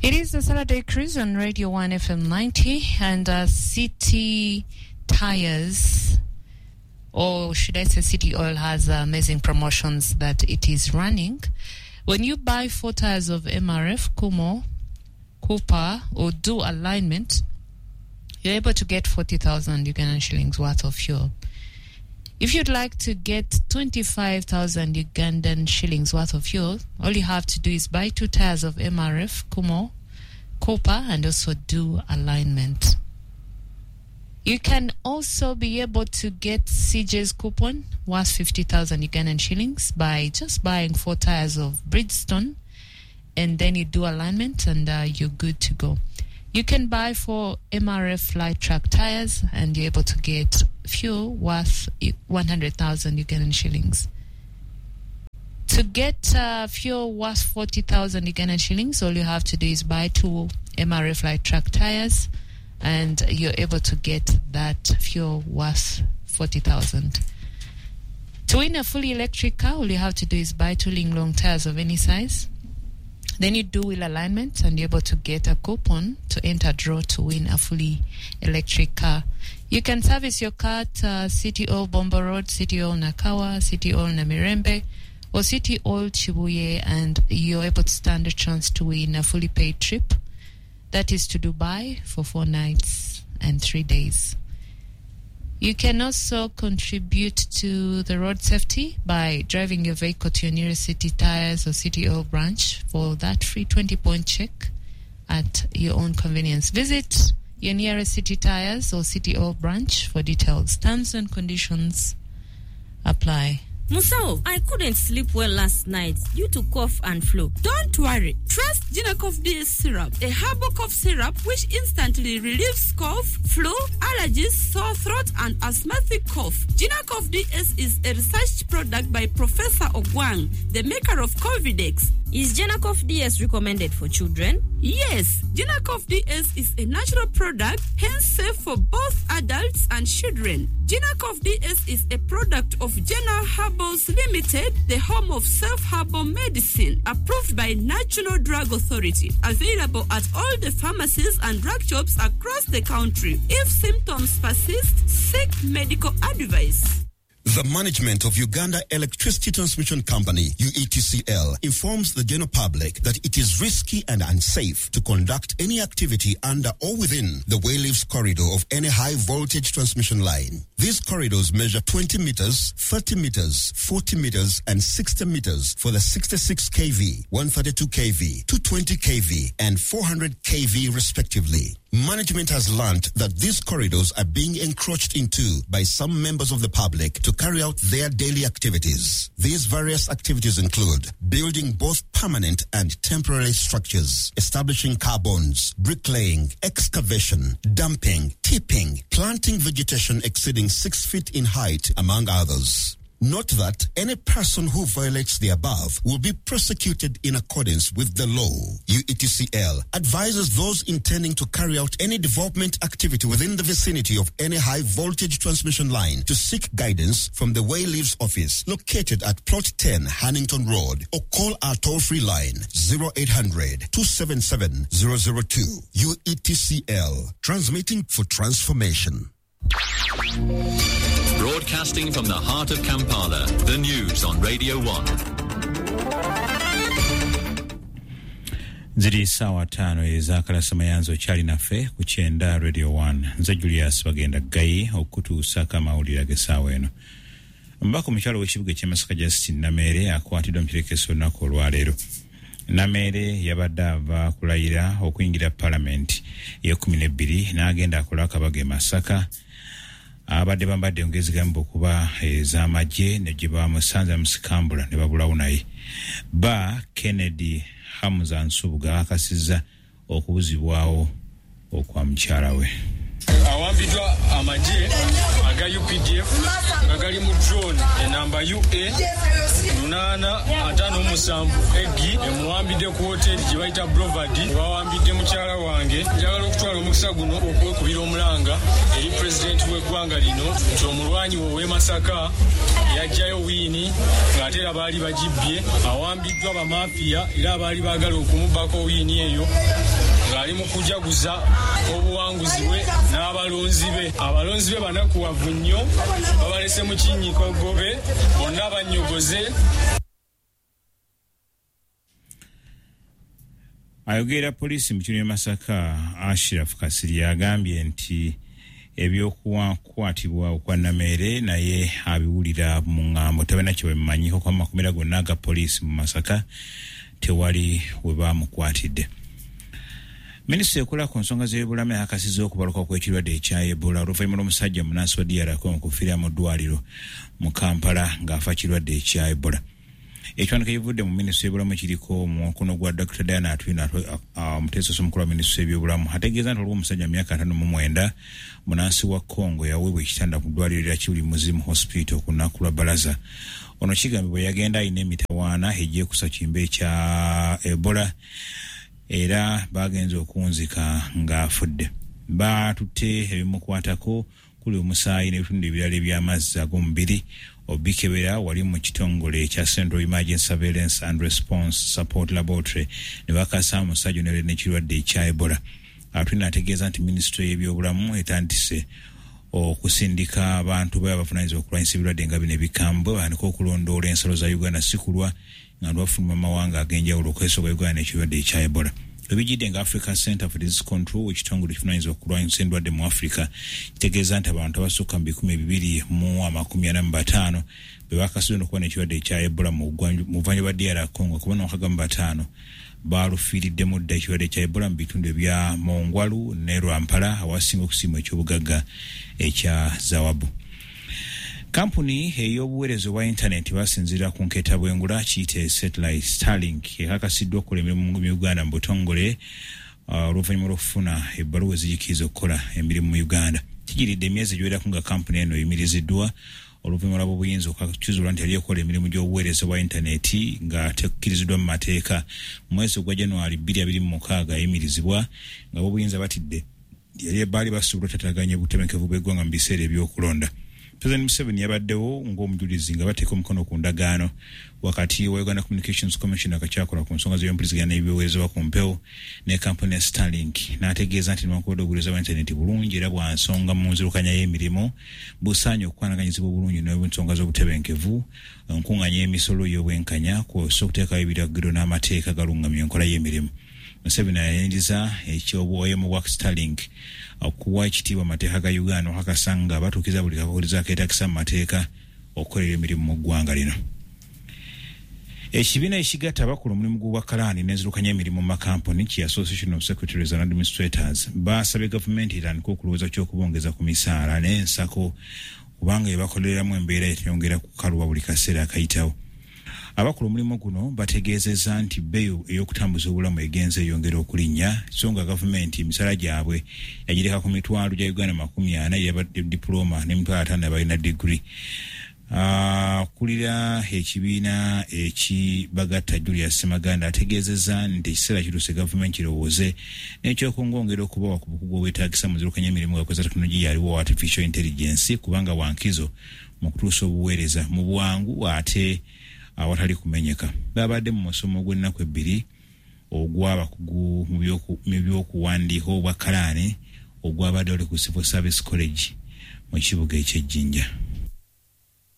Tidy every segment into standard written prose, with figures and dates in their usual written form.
It is the Saturday Cruise on Radio 1 FM 90 and City Tires, or should I say City Oil, has amazing promotions that it is running. When you buy 4 tires of MRF, Kumho, Cooper, or do alignment, you're able to get 40,000 Ugandan shillings worth of fuel. If you'd like to get 25,000 Ugandan shillings worth of fuel, all you have to do is buy 2 tires of MRF, Kumho, Cooper, and also do alignment. You can also be able to get CJ's coupon worth 50,000 Ugandan shillings by just buying 4 tires of Bridgestone, and then you do alignment and you're good to go. You can buy 4 MRF light truck tires and you're able to get fuel worth 100,000 Ugandan shillings. To get fuel worth 40,000 Ugandan shillings, all you have to do is buy 2 MRF light truck tires and you're able to get that fuel worth 40,000. To win a fully electric car, all you have to do is buy 2 Linglong tires of any size. Then you do wheel alignment and you're able to get a coupon to enter draw to win a fully electric car. You can service your car at City Oil Bombo Road, City Oil Nakawa, City Oil Namirembe, or City Oil Chibuye, and you're able to stand a chance to win a fully paid trip. That is to Dubai for 4 nights and 3 days. You can also contribute to the road safety by driving your vehicle to your nearest City Tires or City Oil branch for that free 20-point check at your own convenience. Visit your nearest City Tires or City Oil branch for details. Terms and conditions apply. Musao, I couldn't sleep well last night due to cough and flu. Don't worry. Trust Ginacough DS syrup, a herbal cough syrup which instantly relieves cough, flu, allergies, sore throat, and asthmatic cough. Ginacough DS is a research product by Professor Ogwang, the maker of Covidex. Is Ginacough DS recommended for children? Yes, Ginacough DS is a natural product, hence safe for both adults and children. Ginacough DS is a product of General Herbals Limited, the home of self-herbal medicine, approved by National Drug Authority. Available at all the pharmacies and drug shops across the country. If symptoms persist, seek medical advice. The management of Uganda Electricity Transmission Company, UETCL, informs the general public that it is risky and unsafe to conduct any activity under or within the Wayleaves corridor of any high voltage transmission line. These corridors measure 20 meters, 30 meters, 40 meters, and 60 meters for the 66 kV, 132 kV, 220 kV, and 400 kV respectively. Management has learnt that these corridors are being encroached into by some members of the public to carry out their daily activities. These various activities include building both permanent and temporary structures, establishing carbons, bricklaying, excavation, dumping, tipping, planting vegetation exceeding 6 feet in height, among others. Note that any person who violates the above will be prosecuted in accordance with the law. UETCL advises those intending to carry out any development activity within the vicinity of any high voltage transmission line to seek guidance from the Wayleaves office located at Plot 10 Hannington Road, or call our toll-free line 0800 277 002. UETCL, transmitting for transformation. Broadcasting from the heart of Kampala, the news on Radio 1. Ziri sawa 5 ezakalasa mayanzo kyali naffe ku kyenda Radio 1. Nze Julius Bagenda Gayi okutuusaako amawulire ag'essaawa eno. Omubaka omukyalo w'ekibuga eky'e Masaka Justin Nameere akwatiddwa mu kirekeso olunaku olwaleero. Nameere yabadde ava kulayira okuyingira palamenti ey'e12 n'agenda akola akabaga e Masaka. Abadde bambadde engezi gamba okuba ez'amagye ne gye bamusanze musikambula ne babulawo naye. Ba Kennedy Hamza Nsubuga akasizza okubuzibwawo okwa mukyala we. Awambiddwa amagye aga UPDF nga gali mu drone enamba UA 857 egi emuwambidde ku hoteri gye bayita Brovard. Bawambidde mukyala wange. Njagala okutwala omukisa guno okwekubira omulanga eri pulezidenti w'eggwanga lino nti omulwanyi we ow'e Masaka yajjayo wiini ng'ate era baali bagibbye. Awambiddwa bamafiya era abaali baagala okumubbako wiini eyo ng'ali mu kujaguza obuwanguzi bwe n'abalonzi be. Abalonzi be banakuwavu nnyo, babalese mu kinnyiko gobe, bonna bannyogoze. Ayogera poliisi mu kitundu Masaka Ashraf Kasiri agambye nti ebyokukwatibwa okwa Nameere naye abiwulira mu ŋŋambo, tabalina kye babimanyiiko kuba makomera gonna aga poliisi mu Masaka tewali we bamukwatidde. Minisitule ekola ku nsonga z'ebyobulamu yakakasizza okubaluka kw'ekirwadde ekya Ebola oluvannyuma lw'omusajja munnansi wa DR Congo okufiira mu ddwaliro mu Kampala ng'afa kirwadde ekya Ebola. Ekiwandiiko ekivudde mu minisitule y'ebyobulamu kiriko omukono gwa Dr. Diana Atwine, omuteesiteesi omukulu wa minisitule y'ebyobulamu, ategeeza nti waliwo omusajja mu myaka 59 munnansi wa Congo yaweebwa ekitanda ku ddwaliro lya Kibuli Muzimu Hospital ku lunaku lwa Balaza. Ono kigambibwa yagenda alina emitawaana egyekusa kimbe ekya Ebola era bagenze okunzika ng'afudde. Baatutte ebimukwatako kuli omusaayi n'ebitundu ebirala eby'amazzi ag'omubiri obikebera wali mu kitongole ekya Central Emergency Surveillance and Response Support Laboratory ne bakasa omusajja ono yali n'ekirwadde ekya Ebola. Atwine ategeeza nti minisitule y'ebyobulamu etandise okusindika abantu be abavunaanyizibwa okulwanyisa ebirwadde nga bino ebikambwe batandike okulondoola ensalo za Uganda si kulwa nga bafuluma amawanga ag'enjawulo okwesoga Uganda n'ekirwadde ekya Ebola. Ebijjidde nga Africa Center for Disease Control, ekitongole ekivunaanyizibwa okulwanyisa endwadde mu Africa, kitegeeza nti abantu abasukka mu 245 be bakasiddwa n'okuba n'ekirwadde ekya Ebola mu buvanjuba bwa DR Congo, kuba 65 balufiiriddemu dda ekirwadde ekya Ebola mu bitundu ebya Mongwalu ne Rwampara awasinga okusiima ekyobugagga ekya Zawabu. Kampuni ey'obuweereza obwa intaneti basinziira ku nketa bwengula kiyite satellite Starlink ekakasiddwa okukola emirimu mu Uganda mu butongole oluvannyuma lw'okufuna ebbaluwa ezigikiriza okukola emirimu mu Uganda. Kijiridde emyezi egiwerako nga kampuni eno eyimiriziddwa oluvannyuma lw'abobuyinza okukizuula nti yali ekola emirimu gy'obuweereza bwa intaneti nga tekkiriziddwa mu mateeka. Mu mwezi ogwa January 2026 yayimirizibwa nga ab'obuyinza batidde yali baali basobola otataganya obutebenkevu bw'eggwanga mu biseera eby'okulonda. President Museveni yabaddewo ng'omujulizi nga bateeka omukono ku ndagaano wakati wa Uganda Communications Commission akakyakola ku nsonga z'ebyempuliziganya n'ebiweerezebwa ku mpewo ne kampuni ya Starlink, n'ategeeza nti newankubadde obuweereza bwa intaneti bulungi era bwa nsonga mu nzirukanya y'emirimu, busaanye okukwanaganyizibwa obulungi n'ensonga z'obutebenkevu, enkuŋŋaanya y'emisolo y'obwenkanya kw'ossa okuteekawo ebiragiro n'amateeka agalungamya enkola y'emirimu. Museveni ayaniriza eky'obuwayemu bwa Starlink okuwa ekitiibwa amateeka ga Uganda okakasa nga batuukiriza buli kakolezo akeetagisa mu mateeka okukolera emirimu mu ggwanga lino. Ekibiina ekigatta abakola omulimu gw'obwakalaani n'enzirukanya emirimu mu makampuni ki Association of Secretaries and Administrators baasabye gavumenti etandike okulowooza ky'okubongeza ku misaala n'ensako kubanga ebakolereramu embeera eteyongera kukaluba buli kaseera akayitawo. Abakola omulimu guno bategeezezza nti bbeeyi ey'okutambuza obulamu egenze eyongera okulinnya, so nga gavumenti emisaala gyabwe yagireka ku mitwalo gya Uganda 40 eyaba dipulooma n'emitwalo 50 abalina digiri. Akulira ekibiina ekibagatta Julius Semaganda ategeezezza nti ekiseera kituuse gavumenti kirowooze n'ekyokungongera okubawa ku bukugu obwetaagisa mu nzirukanya emirimu nga kozesa tekinologiya aliwo artificial intelligence kubanga wankizo mu kutuusa obuweereza mu bwangu ate awatali kumenyeka. Babadde mu musomo gw'ennaku 2 ogw'abakugu mu by'okuwandiika obwakalaani ogwabadde oli ku Civil Service College mu kibuga eky'Ejjinja.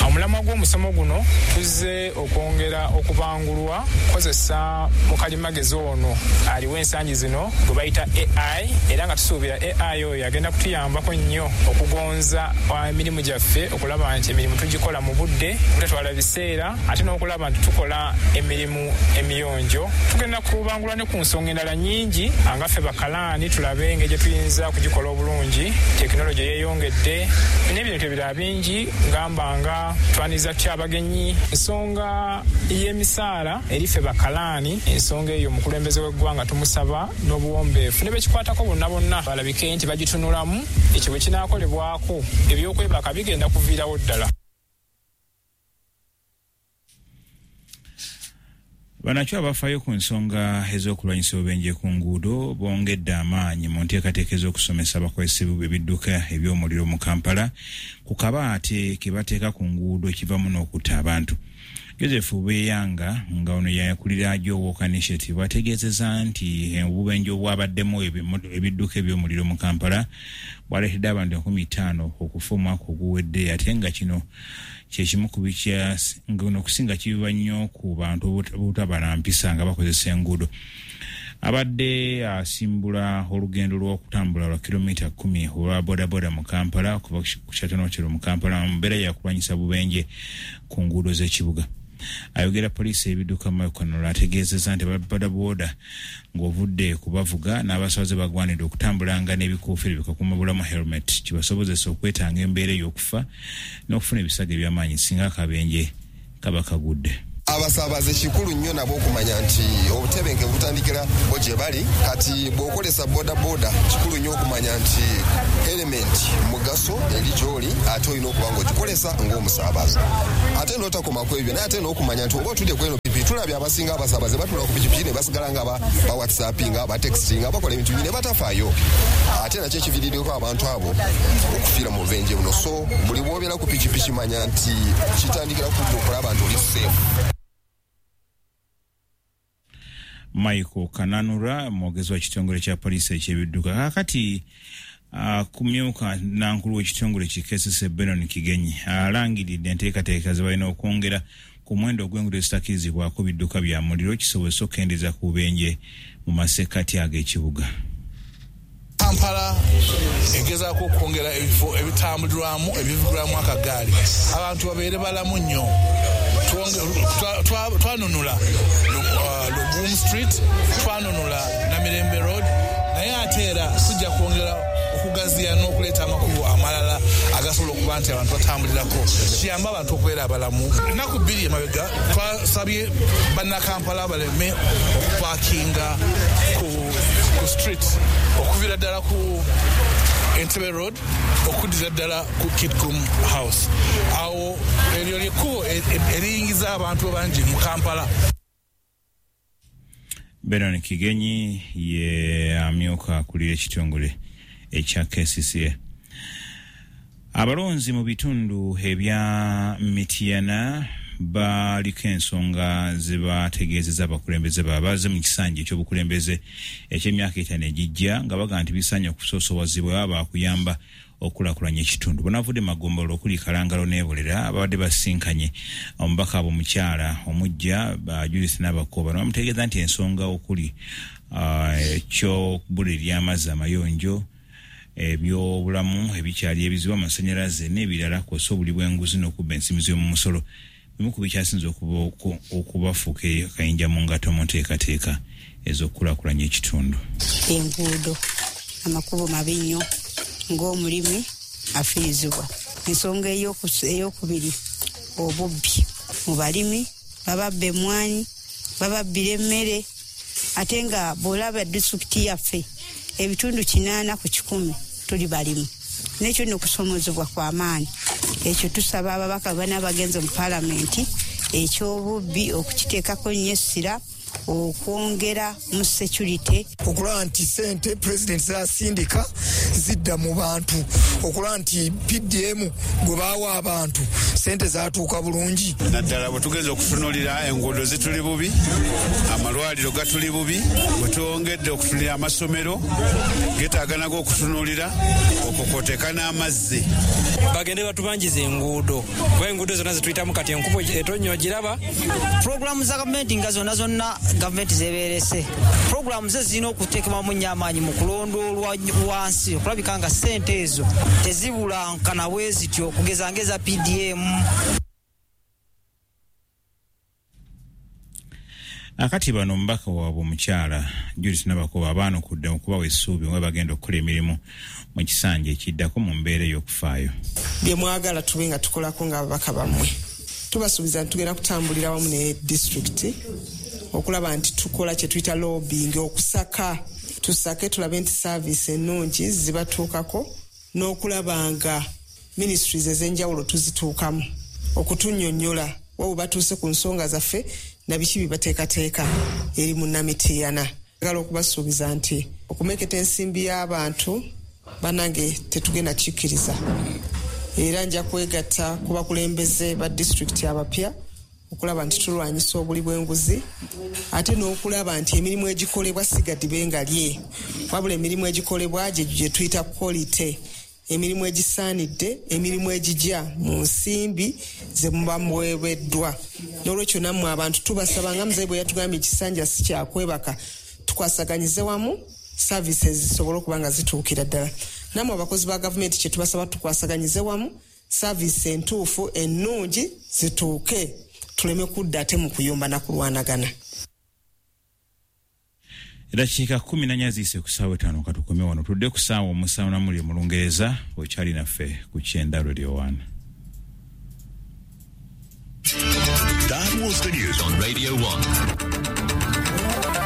Omulamwa gw'omusomo guno tuzze okwongera okubangulwa kukozesa mukalimagezi ono aliwo ensangi zino gwe bayita AI, era nga tusuubira AI oyo agenda kutuyambako nnyo okugonza emirimu gyaffe, okulaba nti emirimu tugikola mu budde obutatwala biseera, ate n'okulaba nti tukola emirimu emiyonjo. Tugenda kubangulwa ne ku nsonga endala nnyingi nga ffe bakalaani tulabe engeri gye tuyinza okugikola obulungi. Tekinologi yeeyongedde n'ebintu ebirala bingi ngamba nga Twaniriza tutya abagenyi? Ensonga y'emisaala erife bakalaani, ensonga eyo omukulembeze w'eggwanga tumusaba n'obuwombeefu ne bekikwatako bonna bonna balabike nti bagitunulamu. Ekyo bwe kinaakolebwako ebyokwebaka bigenda kuviirawo ddala. Banakyo abafaayo ku nsonga ez'okulwanyisa obubenje ku nguudo bongedde amaanyi mu nteekateeka ez'okusomesa abakozesa ebidduka eby'omuliro mu Kampala ku kabaate ke bateeka ku nguudo ekivamu n'okutta abantu. Joseph Beyanga nga ono yakulira Joe Initiative ategeezezza nti obubenje obwabaddemu ebidduka eby'omuliro mu Kampala bwaleetedde abantu 50 okufa omwaka oguwedde, ate nga kino kyekimu ku okusinga kibiba nnyo ku bantu obutabala mpisa nga bakozesa enguudo. Abadde asimbula olugendo lw'okutambula lwa kilomita 10 olwa bodaboda mu Kampala okuva ku Kyatono mu Kampala mu mbeera yakulwanyisa bubenje ku nguudo z'ekibuga. Ayogera poliisi ebidduka Michael ategeezezza nti bodaboda ng'ovudde kubavuga n'abasabaze bagwanidde okutambulanga n'ebikuufiiro bikakuuma bulamu helmet kibasobozesa okwetanga embeera ey'okufa n'okufuna ebisago eby'amaanyi singa akabenje kaba kagudde. Abasaabaze kikulu nnyo nabo okumanya nti obutebenkevu butandikira bo gye bali. Kati bw'okozesa bodaboda kikulu nnyo okumanya nti element mugaso eri gy'oli, ate olina okuba ng'ogikozesa ng'omusaabaze. Ate n'otakoma ku ebyo, naye ate n'okumanya nti oba otudde ku eno pikipiki, tulabye abasinga abasaabaze batula ku pikipiki ne basigala nga ba whatsappinga, ba textinga, bakola ebintu bingi ne batafaayo. Ate nakyo ekiviiriddeko abantu abo okufiira mu bubenje buno. So buli bw'obeera ku pikipiki manya nti kitandikira ku ggwe okulaba nti oli safe. Michael Kananura mwogezi wa kitongole kya poliisi eky'ebidduka kaakati kumyuka nankulu w'ekitongole ki KCCA Benon Kigenyi alangiridde enteekateeka ze balina okwongera ku muwendo ogw'enguudo ezitakkirizibwako bidduka bya muliro kisobozesa okukendeeza ku bubenje mu masekkati ag'ekibuga. Kampala egezaako okwongera ebifo ebitambulirwamu ebivugirwamu akagaali, abantu babeere balamu nnyo. Twanunula Lubum Street, twanunula Namirembe Road, naye ate era tujja kwongera okugaziya n'okuleeta amakubo amalala agasobola okuba nti abantu batambulirako, kiyambe abantu okubeera abalamu. Ennaku 2 emabega twasabye bannakampala baleme okupaakinga ku street okuviira ddala ku Entebbe Road okuddira ddala ku Kitgum House. Awo eryo lyekkubo eriyingiza abantu bangi mu Kampala. Benon Kigenyi ye amyuka akulira ekitongole ekya KCCA. Abalonzi mu bitundu ebya Mityana baliko ensonga ze bategeezezza abakulembeze baabwe mu kisanja eky'obukulembeze eky'emyaka 5 egijja nga bagamba nti bisaanye okusoosowazibwa baba bakuyamba okukulaakulanya ekitundu. Banavudde magombolola okuli Kalangalo n'Ebulera ababadde basinkanye omubaka abo omukyala omujja Judith Nabakooba ne bamutegeeza nti ensonga okuli eky'obbula ery'amazzi amayonjo, ebyobulamu ebikyali ebizibu, amasannyalaze n'ebirala kw'ossa obuli bw'enguzi n'okubba ensimbi z'omumusolo bimu ku bikyasinze okubafuuka akayinja mu ngato mu nteekateeka ez'okukulaakulanya ekitundu. Enguudo, amakubo mabi nnyo, ng'omulimi afiirizibwa. Ensonga eyokubiri, obubbi mu balimi, bababba emmwanyi, bababbira emmere, ate nga bw'olaba disitulikiti yaffe ebitundu 80 ku 100 tuli balimu. Nekyo nno okusomozebwa kw'amaanyi. Ekyo tusaba ababaka bana bagenze mu paalamenti eky'obubbi okukiteekako nnyo essira, okwongera mu security. Okulaba nti sente pulezidenti zasindika zidda mu bantu, okulaba nti PDM gwe baawa abantu sente zatuuka bulungi. Naddala bwe tugenza okutunuulira enguudo zituli bubi, amalwaliro gatuli bubi, bwe twongedde okutunulira amasomero getaaga nago okutunuulira, okwo kwoteeka n'amazzi. Bagende batubanjiza enguudo, kuba enguudo zonna zetuyitamu kati enkuba etonnya ogiraba. Puroguramu za gavumenti nga zonna zonna gavumenti zebeerese, puroguramu ze zirina okuteekebwamu nnyo amaanyi mu kulondoolwa wansi okulabika nga ssente ezo tezibulankana bwe zityo, okugeza ng'eza PDM. Akati bano omubaka waabwe omukyala Judith Nabakuba abaanukudde okubawa essuubi nga bagenda okukola emirimu mu kisanja ekiddako mu mbeera ey'okufaayo. Bye mwagala tube nga tukolako ng'ababaka bammwe, tubasuubiza nti tugenda kutambulira wamu ne disitulikiti okulaba nti tukola kye tuyita lobbying, okusaka tusake tulabe nti saaviisi ennungi zibatuukako n'okulaba nga ministries ez'enjawulo tuzituukamu okutunnyonnyola wa batuuse ku nsonga zaffe na biki bibateekateeka eri munnamitiana. Njagala okubasuubiza nti okumeketa ensimbi y'abantu bannange tetugenda kikkiriza, era nja kwegatta ku bakulembeze ba disitulikiti abapya okulaba nti tulwanyisa obuli bw'enguzi, ate n'okulaba nti emirimu egikolebwa si gadibe nga lye, wabula emirimu egikolebwa gye gye tuyita quality, emirimu egisaanidde, emirimu egijja mu nsimbi ze muba muweebeddwa. N'olwekyo nammwe abantu tubasaba, nga muzeeyi bwe yatugambye, ekisanja si kyakwebaka, tukwasaganyize wamu services zisobole okuba nga zituukira ddala. Nammwe abakozi ba gavumenti kye tubasaba, tukwasaganyize wamu service entuufu ennungi zituuke, tuleme kudda ate mu kuyomba na kulwanagana. Eddakiika 14 ziyise ku ssaawa 5. Katukome wano, tudde ku ssaawa 7 namuli mu Lungereza. Okyali naffe ku Kyenda Radio 1. That was the news on Radio 1.